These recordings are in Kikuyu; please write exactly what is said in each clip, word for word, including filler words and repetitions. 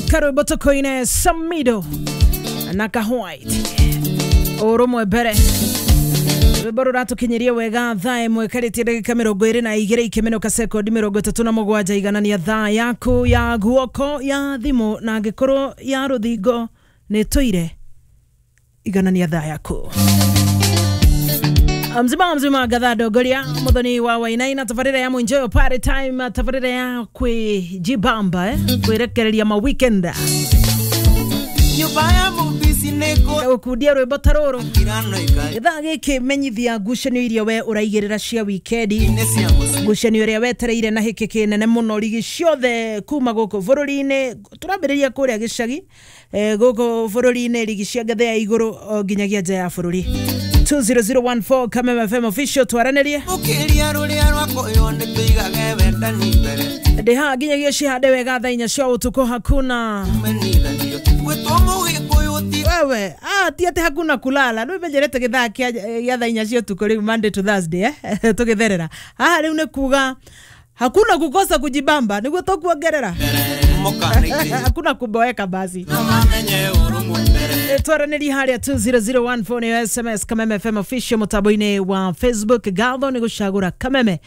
Karwimbo tukoine Samido na Ka White urumwe mbere. Rwimbo ruratukinyiria wega thaa imwe karĩtie ndagĩka mĩrongo ĩrĩ na igĩrĩ ikĩmenũka sekondi mĩrongo ĩtatũ na mũgwanja. Iganania thaa yaku ya guoko ya thimũ na angĩkorwo ya rũthingo nĩ tũire, iganania thaa yaku. Mzima mzima gatha ndongoria muthoni wa Wainaina, tabarĩra ya Mwinjoyo party time, tabarĩra ya kwĩjibamba, eh? Kwĩrekereria ma weekend. Nyũmba ya mũbici nĩ gũkundia rwĩmbo ta rũrũ kũkirano ikari gĩthaa gĩkĩ. Menyithia ngucanio iria we ũraigĩrĩra cia wikendi, nĩ cia mũciĩ. Ngucanio ĩrĩa wetereire na hĩkĩ kĩnene mũno, rigi ciothe kuma gũkũ bũrũri-inĩ. Tũrambĩrĩria kũrĩa gĩcagi, eh, gũkũ bũrũri-inĩ, rigi cia ngathĩ ya igũrũ o nginyagia nja ya bũrũri. two zero zero one four Kameme F M official, twaranĩrie. Mũkĩria rũrĩa rwakoywo nĩ tũigage wendani mbere. Ndĩ haha nginyagia cihande wega thaa inya cia ũtukũ. Hakuna Menithanio gwĩtwo mũgĩkũyũ ti wewe, ah, ti atĩ hakuna kulala. Rĩu menyerete gĩthaa kĩa gĩa thaa inya cia ũtukũ rĩu Monday to Thursday, eh? Tũgĩtherera haha rĩu nĩ kuga hakuna kukosa kujibamba, nĩguo tũkuongerera mũkanaitĩ hakuna kuboeka basi. No mamenye ũrũmwe mbere. Twaranĩria harĩa two zero zero one four nĩyo S M S. Kameme F M official mũtambo-inĩ wa Facebook. Gatho nĩ gũcagũra Kameme.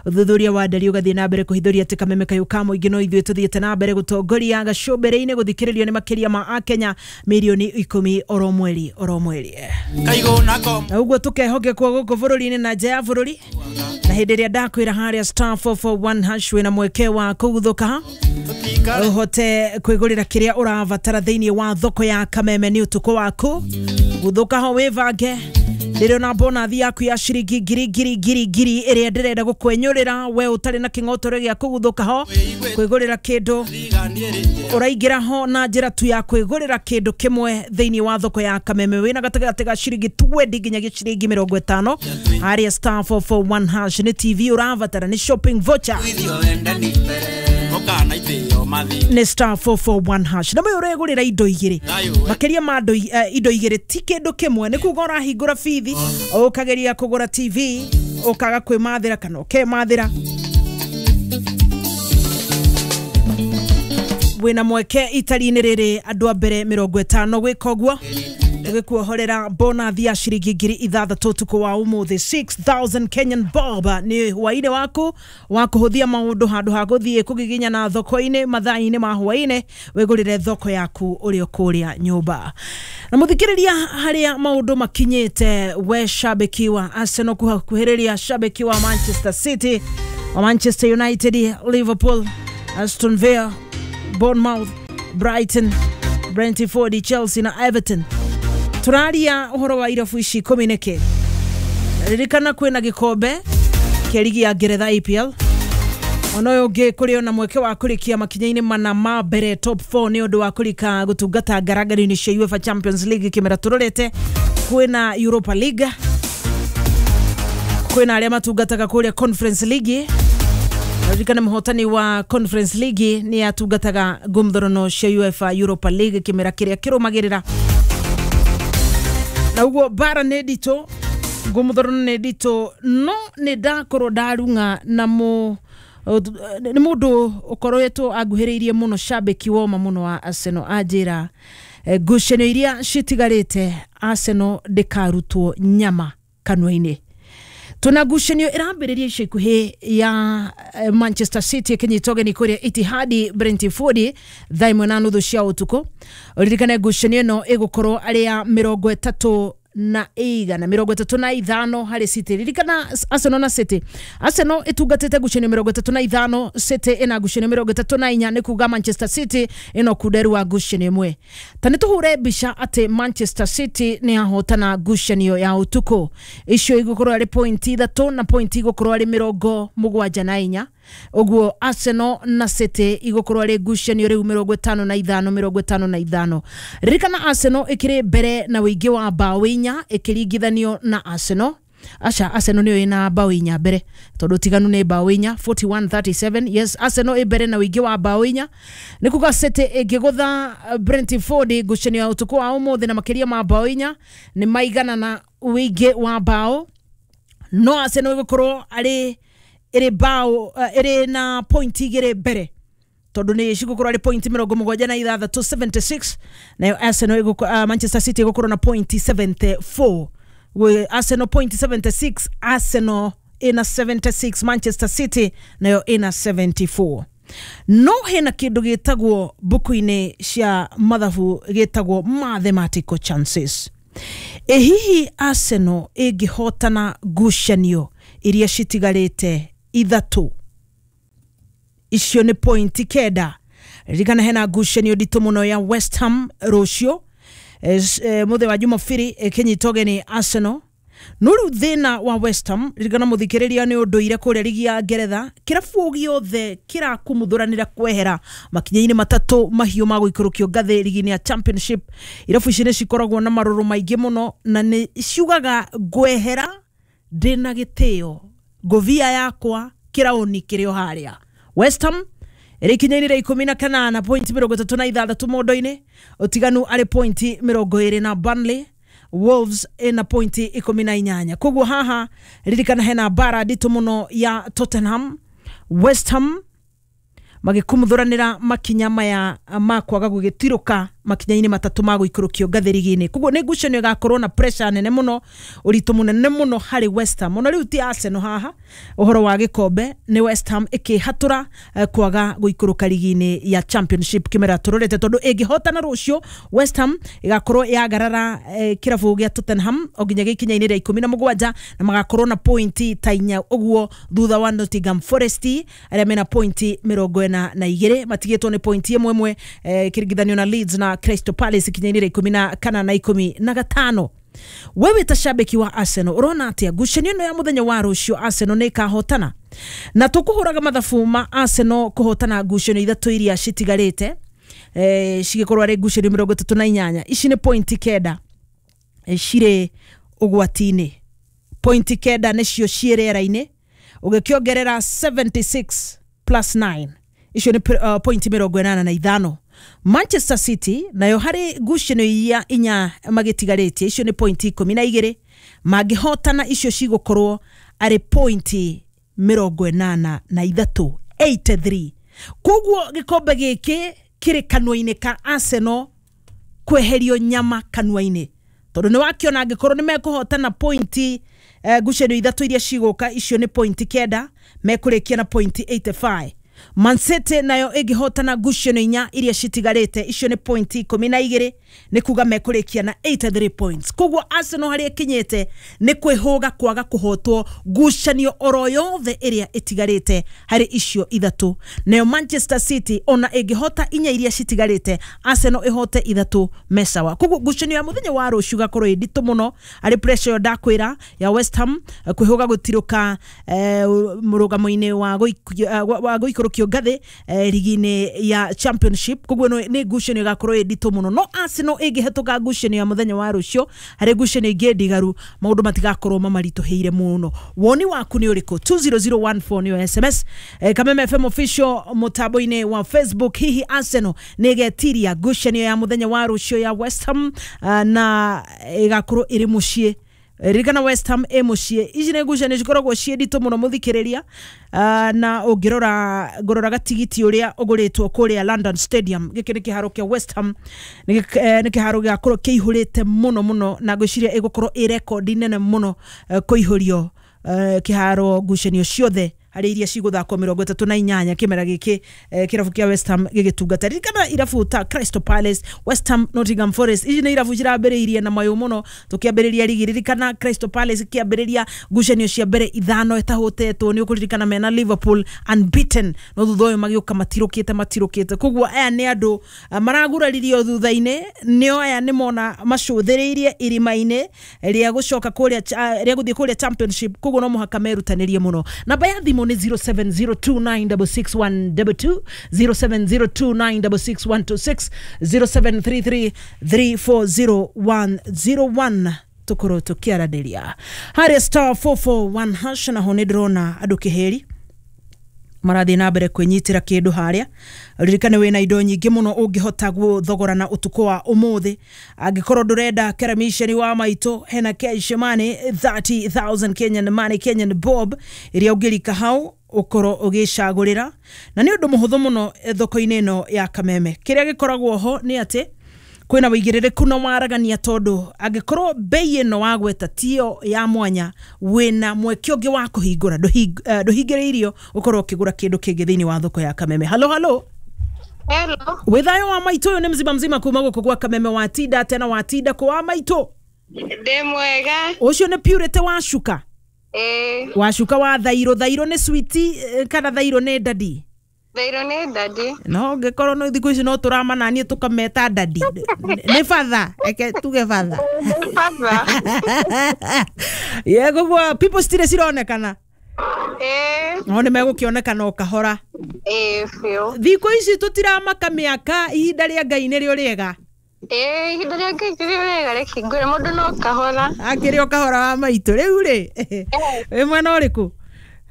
Ũthuthuria wa ndari ũgathiĩ na mbere kũhithũria atĩ Kameme kayũ ka mũingĩ no ithuĩ tũthiĩte na mbere gũtongoria gacũmbĩrĩ-inĩ gũthikĩrĩrio nĩ makĩria ma akenya mirioni ikũmi oro mweri oro mweri. Kaigũ nako. Na ũguo tũkehokekwo gũkũ bũrũri-inĩ na nja ya bũrũri. Na hĩndĩ ĩrĩa ndakwĩra harĩa star four four one hash wĩna mweke wa kũguthũka tũtikare ũhote kwĩgũrĩra kĩrĩa ũrabatara thĩinĩ wa thoko ya Kameme. Nĩ ũtukũ waku guthũka ho wĩbange. Ndĩrona bonathi yaku ya ciringi ngiri ngiri ngiri ngiri ĩrĩa ndĩrenda gũkwenyũrĩra we ũtarĩ na kĩng'otore gĩa kũguthũka ho kwĩgũrĩra kĩndũ. Ũraingĩra ho na njĩra tu ya kwĩgũrĩra kĩndũ kĩmwe thĩinĩ wa thoko ya Kameme wĩna gatagatĩ ga ciringi twenty nginyagia ciringi mĩrongo ĩtano harĩa star four four one hash. Nĩ T V ũrabatara, nĩ shopping voucher, nĩ star four four one hash. Na mũyũ ũregũrĩra indo igĩrĩ, makĩria ma indo eh, indo igĩrĩ, ti kĩndũ kĩmwe. Nĩ kuga ũrahingũra bithi ũkageria kũgũra T V ũkaga kwĩmathĩra kana ũkemathĩra, wĩna mweke itari-inĩ rĩrĩ andũ a mbere mĩrongo ĩtano gwĩka ũguo gĩkuohorera bonathi ya ciringi ngiri ithathatũ ũtukũ wa ũmũthĩ, six thousand Kenyan bob. Nĩ hwaĩ-inĩ waku wa kũhũthia maũndũ. Handũ ha gũthiĩ kũgiginyana thoko-inĩ mathaa-inĩ ma hwaĩ-inĩ, wĩgũrĩre thoko yaku ũrĩ o kũrĩa nyũmba. Na mũthikĩrĩria, harĩa maũndũ makinyĩte, we shabiki wa Arsenal kuhakuhĩrĩria shabiki wa Manchester City, wa Manchester United, Liverpool, Aston Villa, Bournemouth, Brighton, Brentford, Chelsea na Everton, tũraria ũhoro wa irabu ici ikũmi nĩkĩ? Ririkana kwĩna gĩkombe kĩa rigi ya Ngeretha, E P L. Ona ũyũ ũngĩ kũrĩ ona mweke wa kũrĩkia makinya-inĩ mana ma mbere, top four, nĩ ũndũ wa kũrika gũtungata ngarangari-inĩ cia UEFA Champions League kĩmera tũrorete. Kwĩna Europa League, kwĩna arĩa matungataga kũrĩa Conference League. Ririkana mũhotani wa Conference League nĩ atungataga ngumthorono cia UEFA Europa League kĩmera kĩrĩa kĩrũmagĩrĩra. Na ũguo bara nĩ nditũ, ngũmũthorono nĩ nditũ, no nĩ ndakorwo ndarung'a na mũ nĩ mũndũ ũkoretwo anguhĩrĩirie mũno, shabiki woma mũno wa Arsenal. Anjĩra eh, ngucanio iria citigarĩte, Arsenal ndĩkarutwo nyama kanua-inĩ. Tuna ngucanio ĩrambĩrĩria ica ikuhĩ ya eh, Manchester City ĩkĩnyita ũgeni kũrĩa Etihad Brentford thaa ĩmwe na nuthu cia ũtukũ. Ũririkane ngucanio ĩno ĩgũkorwo arĩ ya mĩrongo ĩtatũ na igana mĩrongo ĩtatũ na ithano harĩ City. Ririkana Arsenal na City, Arsenal ĩtungatĩte ngucanio mĩrongo ĩtatũ na ithano, City ĩna ngucanio mĩrongo ĩtatũ na inya. Nĩ kuga Manchester City ĩno kunderu wa ngucanio ĩmwe. Ta nĩ tũhũre mbica atĩ Manchester City nĩ yahotana ngucanio ya ũtukũ, icio igũkorwo arĩ point ithatũ na point igũkorwo arĩ mĩrongo mũgwanja na inya. Ũguo Arsenal na City igũkorwo arĩ ngucanio rĩu mĩrongo ĩtano na ithano, mĩrongo ĩtano na ithano. Ririkana Arsenal ĩkĩrĩ mbere na ũingĩ wa mbaũ inya ĩkĩringithanio na Arsenal, aca, Arsenal nĩyo ĩna mbaũ inya mbere tondũ tiganu nĩ mbaũ inya, forty-one thirty-seven. Yes, Arsenal ĩ mbere na ũingĩ wa mbaũ inya. Nĩ kuga City ĩngĩgũtha Brentford ngucanio ya ũtukũ wa ũmũthĩ na makĩria ma mbaũ inya, nĩ maigana na ũingĩ wa mbaũ, no Arsenal ĩgũkorwo arĩ ĩrĩ mbaũ eh, ĩrĩ na point igĩrĩ mbere. tondu ni cigukorwo ari point mirongo mugwanja na ithathatu seventy-six, nayo Arsenal iguko, uh, Manchester City igukorwo na point seventy-four. Gwe Arsenal point seventy-six, Arsenal ina seventy-six, Manchester City nayo ina seventy-four. No hena kindu gitagwo buku-ini cia mathabu gitagwo mathematical chances. E hihi Arsenal ingihotana ngucanio iria citigarite ithatu, icio ni pointi kenda. Ririkana hena ngucanio nditũ mũno ya West Ham rũciũ, e, mũthenya wa Jumapili ĩkĩnyita ũgeni Arsenal. No rĩu thĩna wa West Ham, ririkana mũthikĩrĩria, nĩ ũndũire kũrĩa rigi ya Ngeretha, kĩrabu gĩothe kĩrakũmũthũranĩra kwehera makinya-inĩ matatũ mahiũ ma gũikũrũkio ngathĩ rigi-inĩ ya Championship. Irabu ici nĩ cikoragwo na marũrũ maingĩ mũno na nĩ ciugaga ngwehera ndĩna gĩtĩo, ngũbia yakwa kĩraũni kĩrĩ o harĩa. West Ham ĩrĩ ikinya-inĩ rĩa ikũmi na kanana, pointi mĩrongo ĩtatũ na ithathatũ mondo-inĩ, ũtiganu arĩ pointi mĩrongo ĩrĩ na Burnley. Wolves ina pointi ikũmi na inyanya. Koguo haha ririkana hena bara nditũ mũno ya Tottenham, West Ham magĩkumuthuranĩra makinya maya ma kwaga gũgĩtirũka makinya-inĩ matatũ ma gũikũrũkio ngathĩ rigi-inĩ. Koguo nĩ ngucanio ĩgakorwo na pressure nene mũno, ũritũ mũnene mũno harĩ West Ham. Ona rĩu ti Arsenal haha, ũhoro wa gĩkombe nĩ West Ham ĩkĩhatũra eh, kwaga gũikũrũka rigi-inĩ ya Championship kĩmera tũrorete, tondũ ĩngĩhotana rũciũ West Ham ĩgakorwo yagarara eh, kĩrabu gĩa Tottenham o nginya gĩkinya-inĩ rĩa ikũmi na mũgwanja, na magakorwo na pointi ta inya ũguo thutha wa Nottingham Forest arĩa mena pointi mĩrongo ĩna na igĩrĩ, matigĩtwo nĩ pointi ĩmwe ĩmwe eh, kĩringithanio na Leeds na Crystal Palace ikinya-inĩ rĩa ikũmi na kana na ikũmi na gatano. Wewe ta shabiki wa Arsenal urona atia ngucanio ĩno ya mũthenya wa rũciũ Arsenal nĩ ĩkahotana? Na tũkũhũraga mathabu ma Arsenal kũhotana ngucanio ithatũ iria citigarĩte, eh, cigĩkorwo arĩ ngucanio mĩrongo ĩtatũ na inyanya. Ici nĩ pointi kenda eh, cirĩ ũgwati-inĩ, pointi kenda nĩcio ciĩ rĩera-inĩ, ũgĩkĩongerera seventy-six plus nine, icio nĩ uh, pointi mĩrongo ĩnana na ithano. Manchester City nayo harĩ ngucanio iria inya magĩtigarĩtie, icio nĩ pointi ikũmi na igĩrĩ, mangĩhotana icio cigũkorwo arĩ pointi mĩrongo ĩnana na ithatũ, eighty-three. Koguo gĩkombe gĩkĩ kĩrĩ kanua-inĩ ka Arsenal kweherio nyama kanua-inĩ, tondũ nĩ wakiona angĩkorwo nĩ mekũhotana pointi eh, ngucanio ithatũ iria cigũka, icio nĩ pointi kenda, mekũrĩkia na pointi eighty-five. Man City nayo ĩngĩhotana ngucanio inya iria citigarĩte, icio nĩ pointi ikũmi na igĩrĩ, nĩ kuga mekũrĩkia na eighty-three points. Koguo Arsenal harĩa ĩkinyĩte nĩ kwĩhũga kwaga kũhotwo ngucanio oro yothe ĩrĩa ĩtigarĩte harĩ icio ithatũ. Nayo Manchester City ona ĩngĩhota inya iria citigarĩte, Arsenal ĩhote ithatũ mesawa. Koguo ngucanio ya mũthenya wa rũciũ ĩgakorwo ĩ nditũ mũno, arĩ pressure ĩyo ndakwĩra ya West Ham kwĩhũga gũtirũka eh, mũrũgamo-inĩ wa gũikũrũkio ngathĩ eh, rigi-inĩ ya Championship. Koguo nĩ ngucanio ĩgakorwo ĩ nditũ mũno. No Arsenal ĩngĩhetũka ngucanio ya mũthenya wa rũciũ, harĩ ngucanio ingĩ ndigaru, maũndũ matigakorwo mamaritũhĩire mũno. Woni waku nĩ ũrĩkũ? two zero zero one four nĩyo S M S. Eh, Kameme F M official mũtambo-inĩ wa Facebook. Hihi Arsenal nĩ ĩgetiria ngucanio ya mũthenya wa rũciũ ya West Ham uh, na ĩgakorwo ĩrĩ mũciĩ? Ririkana West Ham ĩ mũciĩ. Ici nĩ ngucanio cikoragwo ciĩ nditũ mũno mũthikĩrĩria, uh, na ũngĩrora ngũrora gatigiti ũrĩa ũgũrĩtwo kũrĩa London Stadium, gĩkĩ nĩ kĩharo kĩa West Ham, nĩ kĩharo gĩgakorwo kĩihũrĩte mũno mũno, na ngwĩciria ĩgũkorwo ĩ rekondi nene mũno uh, kũihũrio uh, kĩharo ngucanio ciothe harĩ iria cigũthakwo mĩrongo ĩtatũ na inyanya kĩmera gĩkĩ eh, kĩrabu kĩa West Ham gĩgĩtungata. Ririkana irabu ta Crystal Palace, West Ham, Nottingham Forest, ici nĩ irabu cirambĩrĩirie na mayũ mũno tũkĩambĩrĩria rigi. Ririkana Crystal Palace ĩkĩambĩrĩria ngucanio cia mbere ithano ĩtahũtetwo, nĩ ũkũririkana mena Liverpool unbeaten, no thutha ũyũ magĩũka matirũkĩte matirũkĩte. Koguo aya nĩ andũ maraguraririo thutha-inĩ, nĩo aya nĩ mona macũthĩrĩirie irima-inĩ rĩa gũcoka kũrĩa rĩa gũthiĩ kũrĩa Championship. Koguo no mũhaka merutanĩrie mũno. Namba ya thimũ ni zero seven zero two nine six six one two two, zero seven zero two nine six six one two six, zero seven three three three four zero one zero one. Tukorwo tukiaranĩria harĩa star four four one hash. Naho nĩ ndĩrona andũ kĩhĩri marathiĩ na mbere kwĩnyitĩra kĩndũ harĩa. Ririkane wĩna indo nyingĩ mũno ũngĩhota gũthogorana ũtukũ wa ũmũthĩ. Angĩkorwo ndũrenda keramiceni wa maitũ, hena cash money thirty thousand Kenyan money, Kenyan bob, ĩrĩa ũngĩrika hau Ũkorwo ũgĩcagũrĩra na nĩ ũndũ mũhũthũ mũno eh, thoko-inĩ ĩno ya Kameme. Kĩrĩa gĩkoragwo ho nĩ atĩ kwĩna wĩigĩrĩrĩku na waragania, tondũ angĩkorwo bei ĩno wagweta tiyo ya mwanya, wĩna mweke ũngĩ wa kũhingũra. Ndũhing- eh, ndũhingĩrĩirio ũkorwo ũkĩgũra kĩndũ kĩngĩ thĩinĩ wa thoko ya Kameme. Halo, halo. Hello. Wĩ thayũ wa maitũ? Ũyũ nĩ mzima mzima kuma gũkũ gwa Kameme. Watinda atĩa na watinda kũ wa maitũ? Ndĩ mwega. Ũcio nĩ Purity Wacuka? Ĩĩ. Wacuka wa thairũ. Thairũ nĩ switi eh, kana thairũ nĩ dadi? Thairũ nĩ dadi. No ngĩkorwo no thikũ ici no tũramananie tũkameta dadi nĩ batha, eke tuge batha. Baba. Ye koguo people citirĩ cironekana. Ĩĩ. No nĩ megũkĩonekana o kahora. Ĩĩ biũ. Thikũ ici tũtiramaka mĩaka, ihinda rĩa Ngai nĩrĩo rĩega. Ĩĩ, ihinda rĩa Ngai nĩrĩo rĩega, reke ngwĩre mũndũ no kahora. Akĩrĩ o kahora wa maitũ. Rĩu rĩ, wĩ mwena ũrĩkũ?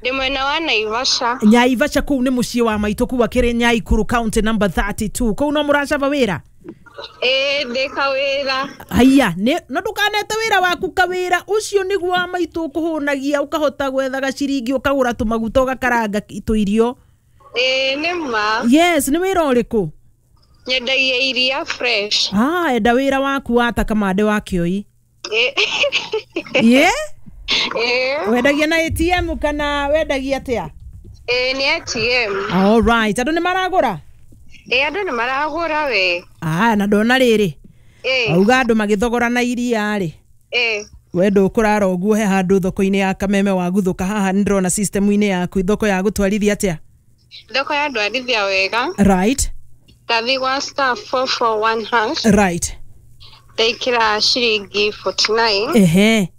Ndĩ mwena wa Naivasha. Nyaivasha kũu nĩ mũciĩ wa maitũ, kũu akĩrĩ Nyaikuru county number thirty-two. Kũu no mũracaba wĩra? Ĩĩ, ndĩ kawĩra. Haiya, nĩ no ndũkanete wĩra waku kawĩra ũcio nĩguo wa maitũ ũkũhũnagia, ũkahota gwetha gaciringi, ũkagũra tũmaguta, ũgakaranga tũirio. Ĩĩ, nĩ ma. Yes, nĩ wĩra ũrĩkũ? Nyendagia iria fresh. Ah, enda wĩra waku wata kamande wa kĩoi. Ĩĩ. Ye. Ĩĩ. Wendagia na A T M kana wendagia atĩa? Ĩĩ, nĩ A T M. All right, andũ nĩ maragũra? Ĩĩ, andũ nĩ maragũra we. Ah, na ndona rĩrĩ, Ĩĩ. auga andũ magĩthogora na iria rĩ, Ĩĩ. we ndũkũrara ũguo he handũ thoko-inĩ ya Kameme waguthũka haha. Nĩ ndĩrona system-inĩ yaku, thoko ya gũtwarithia atĩa? Thoko ya ndwarithia wega. Right. Ndathi gwa star four four one hash. Right. Ndaikĩra ciringi mĩrongo ĩna na inya. Ehe.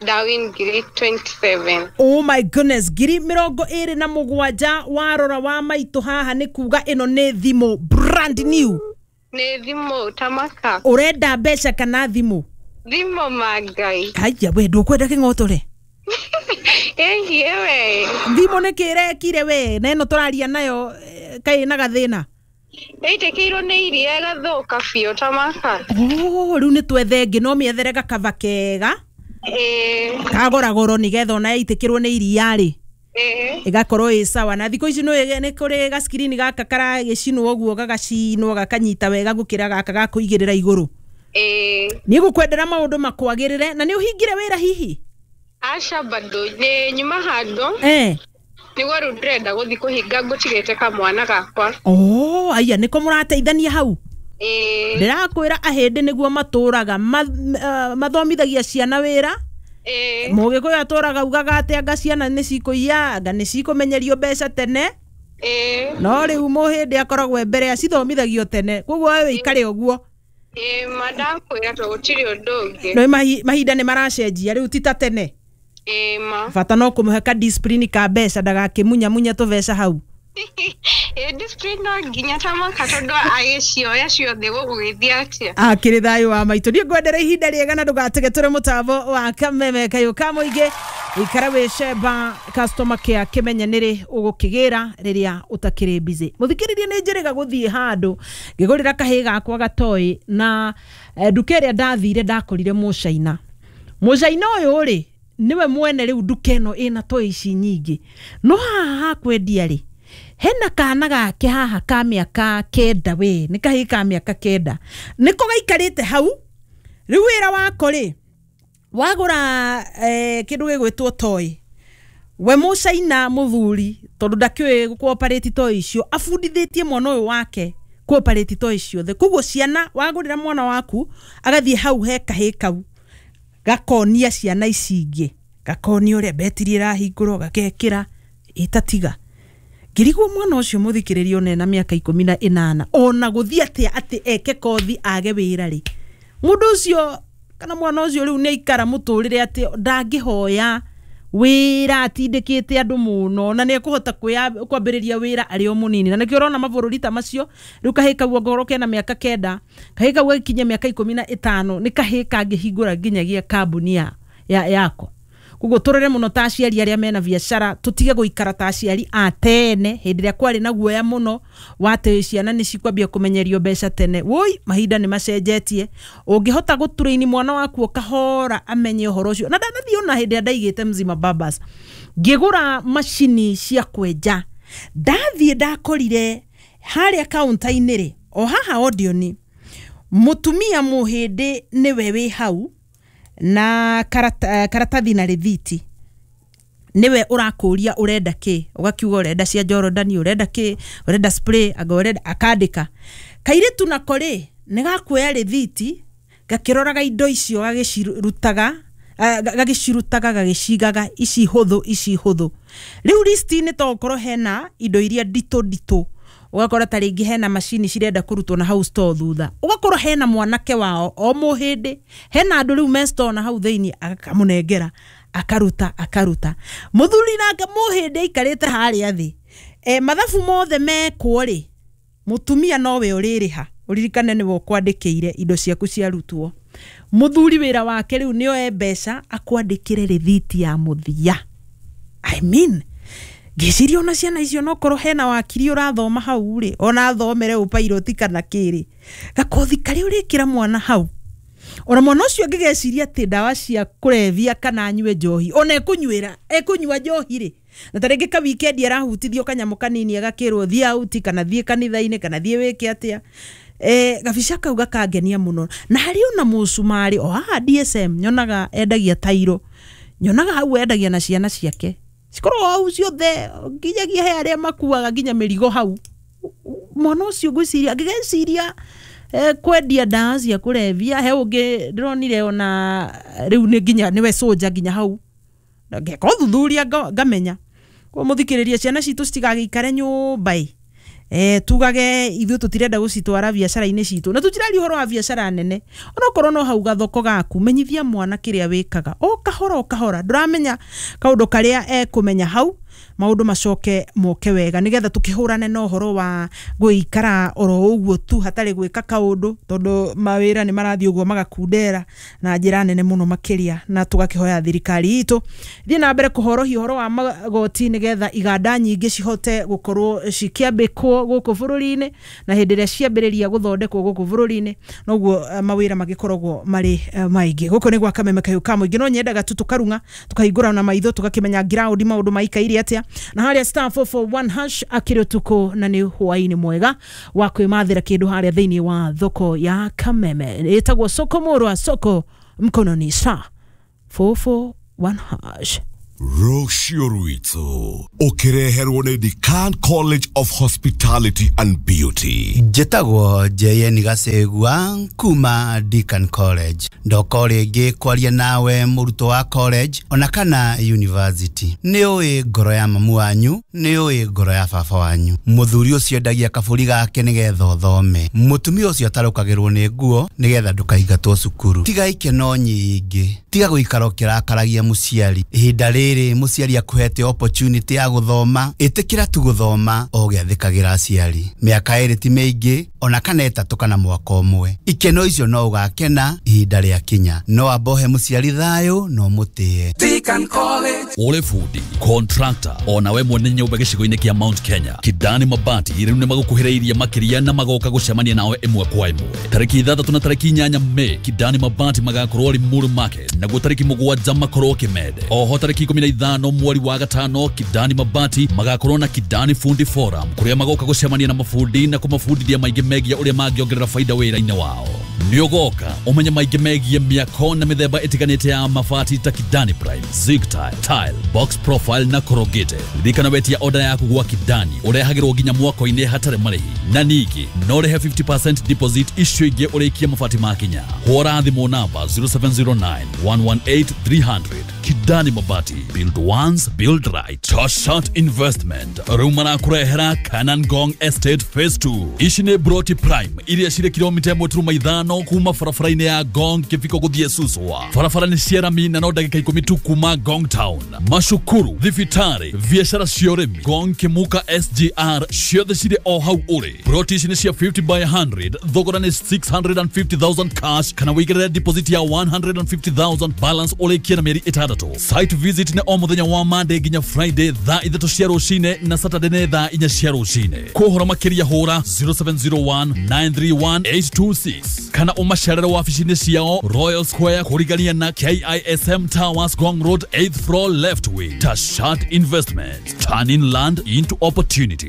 Ndawin ngiri mĩrongo ĩrĩ na mũgwanja. Oh my goodness, ngiri mĩrongo ĩrĩ na mũgwanja. Warora wa maitũ haha nĩ kuga ĩno nĩ thimũ brand new. Nĩ thimũ tamaka. Ũrenda mbeca kana thimũ? Thimũ ma Ngai. Haiya, we ndũkwenda kĩng'otore? Ĩhiĩ we. Thimũ nĩ kĩrekire we na ĩno tũraria nayo eh, kaĩ na gathĩna? Ĩitĩkĩirwo nĩ iria ĩgathũka biũ tamaka. Oh, rĩu nĩ twethe ĩngĩ, no mĩethere gakaba kega Ĩĩ. kagora goro nĩgetha ona yaitĩkĩrwo nĩ iria rĩ, Ĩĩ. ĩgakorwo ĩ sawa. Na thikũ ici nĩ nĩ kũrĩ gaskirini gaka karagĩcinwo ũguo, gagacinwo gakanyita wega gũkĩra gaka ga kũigĩrĩra igũrũ. Ĩĩ. Niĩ gũkwendera maũndũ makwagĩrĩre. Na nĩ ũhingire wĩra hihi? Aca, bado nĩ nyuma handũ. Eh. Nĩguo rĩu ndĩrenda gũthiĩ kũhinga, ngũtigĩte kamwana gakwa. Oh, aya nĩko mũrateithania hau? Ĩĩ. Ndĩrakwĩra ahĩndĩ nĩguo matũraga ma, uh, mathomithagia ciana wĩra. Ĩĩ. Mũgĩkũyũ atũraga ugaga atĩ anga ciana nĩ cikũiya, anga nĩ cikũmenyerio mbeca tene. Ĩĩ. No rĩu mũhĩndĩ akoragwo e mbere, acithomithagio tene, koguo we wĩikare ũguo. Ĩĩ, ma ndakwĩra to gũtirĩ ũndũ ũngĩ. No mahi- mahinda nĩ maracenjia rĩu, ti ta tene. Ĩĩ ma. Bata no kũmũhe ka discipline ka mbeca, ndagakĩmunyamunya tũbeca hau. Ĩĩ, discipline no nginya tamaka, tondũ agĩcioya ciothe gũgũgĩthiĩ atĩa? Akĩrĩ thayũ wa maitũ. Niĩ ngwendera ihinda rĩega na ndũgatege, tũrĩ mũtambo wa Kameme kayũ ka mũingĩ. Ikara wĩ cemba customer care, kĩmenye nĩrĩ ũgũkĩgĩra rĩrĩa ũtakĩrĩ busy. Mũthikĩrĩria, nĩ njĩrĩga gũthiĩ handũ ngĩgũrĩra kahĩ gakwa gatoĩ na eh, nduka ĩrĩa ndathire ndakorire mũcaina. Mũcaina ũyũ rĩ, nĩwe mwene rĩu nduka ĩno ĩna toy ici nyingĩ, no haha hakwendia rĩ, hena kana gake haha ka mĩaka kenda. We nĩ kahĩĩ ka mĩaka kenda, nĩko gaikarĩte hau. Rĩu wĩra wako rĩ, wagũra eh, kĩndũ gĩgwĩtwo toy, we mũcaina mũthuri, tondũ ndakĩũĩ gũkũoparĩti toy icio, abundithĩtie mwana ũyũ wake kũoparĩti toy ciothe. Koguo ciana, wagũrĩra mwana waku, agathiĩ hau he kahĩĩ kau, gakonia ciana ici ingĩ, gakonia ũrĩa betiri ĩrahingũrwo, gakekĩra ĩtatiga. Ngĩrigwo mwana ũcio, mũthikĩrĩrio, ona ena mĩaka ikũmi na ĩnana, ona gũthiĩ atĩa atĩ eke kothi age wĩra rĩ, mũndũ ũcio kana mwana ũcio rĩu nĩ aikara mũtũrĩre atĩ ndangĩhoya wĩra atindĩkĩte andũ mũno, na nĩ ekũhota kwĩa- kwambĩrĩria wĩra arĩ o mũnini. Na nĩkĩo ũrona mabũrũri ta macio rĩu, kahĩĩ kau ongorwo kena mĩaka kenda, kahĩĩ kau gagĩkinyia mĩaka ikũmi na ĩtano nĩ kahĩĩ kangĩhingũra nginyagia kambuni ya, ya, yako. Koguo tũrore mũno ta aciari arĩa mena biacara, tũtige gũikara ta aciari a tene hĩndĩ ĩrĩa kwarĩ na guoya mũno wa atĩ ciana nĩ cikwambia kũmenyerio mbeca tene. Woi, mahinda nĩ macenjetie. Ũngĩhota gũtũrĩini mwana waku o kahora amenye ũhoro ũcio. Na ndanathiĩ ona hĩndĩ ĩrĩa ndaigĩte Mzima Babas ngĩgũra macini cia kwenja, ndathiĩ ndakorire harĩa kaunta-inĩ rĩ, o haha Odeon, mũtumia mũhĩndĩ nĩwe wĩ hau na karata, karatathi na rĩthiti, niwe ũrakũria ũrenda kĩ, ũgakiuga ũrenda cia Jorodani, ũrenda kĩ, ũrenda spray, anga ũrenda, akandĩka. Kairĩtu nako rĩ nĩ gakuoya rĩthiti gakĩroraga indo icio, gagĩcirutaga gagĩcirutaga gagĩcigaga, ici hũthũ ici hũthũ. Rĩu listi-inĩ to ũkorwo hena indo iria nditũ nditũ, ũgakora ta rĩngĩ hena macini cirenda kũrutwo na hau store thutha, ũgakorwo hena mwanake wao o mũhĩndĩ, hena andũ rĩu me store na hau thĩinĩ, akamũnengera akaruta akaruta. Mũthuri nake mũhĩndĩ aikarĩte harĩa thĩ, e, mathabu mothe mekwo rĩ, mũtumia nowe ũrĩrĩha. Ũririkane nĩwe ũkwandĩkĩire indo ciaku ciarutwo. Mũthuri wĩra wake rĩu nĩ oe mbeca akwandĩkĩre rĩthiti ya mũthia. I mean, ngĩciria ona ciana icio nokorwo hena wakiri ũrathoma hau rĩ, ona athomere ũpairoti kana kĩrĩ, gakothi karĩa ũrĩkĩra mwana hau, ona mwana ũcio angĩgeciria atĩ ndawa cia kũrebia kana anyue njohi, ona ekũnyuĩra ekũnyua njohi rĩ, na ta rĩngĩ ka weekend arahutithio kanyamũ kanini agakĩrwo thiĩ out kana thiĩ kanitha-inĩ kana thiĩ wĩke atĩa, eh, gabica kau gakangenia mũno. Na harĩ ona mũcumarĩ o haha D S M nyonaga endagia tairo, nyonaga hau endagia na ciana ciake cikorwo hau ciothe, nginyagia he arĩa makuaga nginya mĩrigo hau. Mwana ũcio ngwĩciria angĩgeciria eh, kwendia ndawa cia kũrebia, he ũngĩ ndĩronire ona rĩu nĩ nginya nĩwe soja nginya hau, ngeka ũthuthuria ngamenya. Koguo mũthikĩrĩria, ciana citũ citigagĩikare nyũmba ĩ, eh, tugage ithuĩ tũtirenda gũcitwara biacara-inĩ citũ, na tũtiraria ũhoro wa biacara nene. Onokorwo no hau gathoko gaku, menyithia mwana kĩrĩa wĩkaga o kahora o kahora, ndũramenya kaũndũ karĩa ekũmenya hau, maũndũ macoke moke wega, nĩgetha tũkĩhũrane na ũhoro wa gũikara oro ũguo tu hatarĩ gwĩka kaũndũ, tondũ mawĩra nĩ marathiĩ ũguo magakundera na njĩra nene mũno makĩria. Na tũgakĩhoya thirikari itũ thiĩ na mbere kũhorohia ũhoro wa magoti, nĩgetha iganda nyingĩ cihote gũkorwo cikĩambĩkwo gũkũ bũrũri-inĩ, na hĩndĩ ĩrĩa ciambĩrĩria gũthondekwo gũkũ bũrũri-inĩ noguo mawĩra magĩkoragwo marĩ maingĩ. Gũkũ nĩ gwa Kameme Kahiũ ka Mũingĩ, no nyendaga tu tũkarung'a tũkahingũra na maitho tũgakĩmenya ground maũndũ maikaire atĩa. Na harĩa star four four one hash akĩrĩ ũtukũ na nĩ hwaĩ-inĩ mwega wa kwĩmathĩra kĩndũ harĩa thĩinĩ wa thoko ya Kameme, ĩtagwo Soko Murwa, soko mkononi, star four four one hash. Rũciũ rwitũ ũkĩreherwo nĩ Decan College of Hospitality and Beauty. Njĩtagwo J N Gacegua kuma Decan College. Ndoka rĩngĩ kwaria nawe mũrutwo wa college ona kana university. Nĩ ũĩ ngoro ya mamu wanyu, nĩ ũĩ ngoro ya baba wanyu. Mũthuri ũcio endagia kabũri gake nĩgetha ũthome, mũtumia ũcio atarũkagĩrwo nĩ nguo nĩgetha ndũkaingatwo cukuru. Tiga ikeno nyingĩ, tiga gũikara ũkĩrakaragia mũciari. Ihinda rĩrĩ mũciari akuhete opportunity ya gũthoma, ĩtĩkĩra tu gũthoma o ũgĩathĩkagĩra aciari. Mĩaka ĩrĩ ti mĩingĩ ona kana ĩtatũ kana mwaka ũmwe, ikeno icio no ũgakena ihinda rĩakinya. No ambohe mũciari thayũ no mũtĩe. Ũrĩ bundi, contractor, ona we mwene nyũmba gĩcigo-inĩ kĩa Mount Kenya, Kidani Mabati rĩu nĩ magũkuhĩrĩirie makĩria na magoka gũcemania nawe ĩmwe kwa ĩmwe. Tarĩki ithathatũ na tarĩki inyanya Mei, Kidani Mabati magakorwo Limuru Market, naguo tarĩki mũgwanja makorwo Kimende. Oho tarĩki ikũmi na ithano mweri wa gatano, Kidani Mabati magakorwo na Kidani Fundi Forum, kũrĩa magoka gũcemania na mabundi na kũmabundithia maingĩ megiĩ ũrĩa mangĩongerera faida wĩra-inĩ wao. Nĩ ũgoka ũmenye maingĩ megiĩ mĩako na mĩthemba ĩtiganĩte ya mabati ta Kidani Prime, Zig Tile, Tile, Box Profile na Corrugated. Ririkana wetia order yaku gwa Kidani ũrehagĩrwo nginya mwako-inĩ hatarĩ marĩhi, na ningĩ no ũrĩhe fifty percent deposit icio ingĩ ũrĩkie mabati makinya. Hũra thimũ namba zero seven zero nine, one one eight, three hundred. Kidani Mabati, build once, build right. Toshat Investment rĩu marakũrehera Kanan Gong Estate Phase two. Ici nĩ Broti Prime iria cirĩ kilomita ĩmwe turuma ithano yao kuma barabara-inĩ ya Ngong Kĩbiko gũthiĩ Suswa. Barabara nĩ cia rami na no ndagĩka ikũmi tu kuma Ngong Town. Macukuru, thibitarĩ, biacara cia ũrĩmi, Ngong Kĩmuka S G R ciothe cirĩ o hau ũrĩ. Ploti ici nĩ cia fifty by hundred, thogora nĩ six hundred and fifty thousand cash kana wĩigĩrĩre deposit ya one hundred and fifty thousand, balance ũrĩkie na mĩeri ĩtandatũ. Site visit nĩ o mũthenya wa Monday nginya Friday thaa ithatũ cia rũcinĩ na Saturday nĩ thaa inya cia rũcinĩ. Kũhoro makĩria hũra zero seven zero one nine three one eight two six kana ũmacerere wabici-inĩ ciao Royal Square kũrigania na K I S M Towers, Ngong Road, eighth floor left wing. Tashat Investments, turning land into opportunity.